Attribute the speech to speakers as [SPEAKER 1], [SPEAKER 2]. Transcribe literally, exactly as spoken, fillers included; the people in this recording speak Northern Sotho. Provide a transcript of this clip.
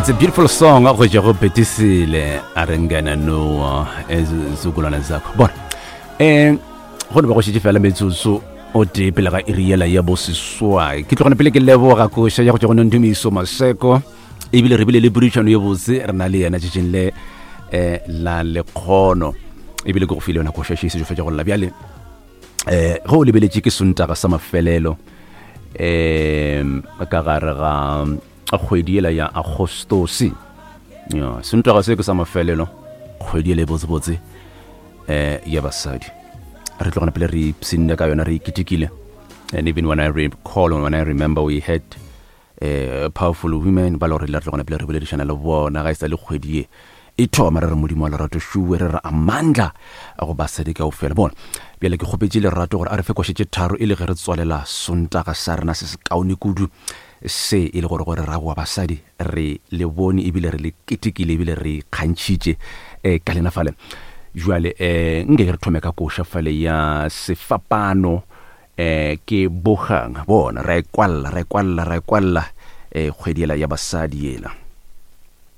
[SPEAKER 1] It's a beautiful song go tšwa go Betisile a re ngena noa ezizukulwane zakho. Bona, um go no ba go šetše fela metsotso o tee pele ga iri yela ya boseswai. Ke tlogone pele ke leboga koša ya go tšwa go Nondumiso Maseko, ebile re bile le podišano ye botse re na le yena tšatšing le um la lekgono, ebile ke go file yona koša še e sešo fetša go lla. Bjale um ge o lebeletše ke Sontaga sa mafelelo um ka gare ga kgwedi yela ya Agostosi. Ya Sontaga se ke sa mafelelo kgwedi yela e botsebotse um ya basadi. Re tlogana pele re ipshinne ka yona, re iketekile. And even when I recall, when I remember, we had uh, powerful women ba le gore re tlogana pele re boledišana le bona ga e sa le kgwedi ye e thoma, re re Modimo wa lerato šuwe, re re amandla go basadi kaofela. Bona, bjale ke kgopetše Lerato gore a re fe koše tše tharo e le ge re tswalela Sontaga sa rena se se kaone kudu se, e le gore gore ra boa basadi re le bone ebile re le ketekile ebile re ikgantšhitše um ka lena fale. Jwale um nke ke re thome ka koša fale ya Sefapano, um ke Bogang. Bona, ra e kwalla, ra e kwalla, ra e kwalla um kgwedi ela ya basadi yela.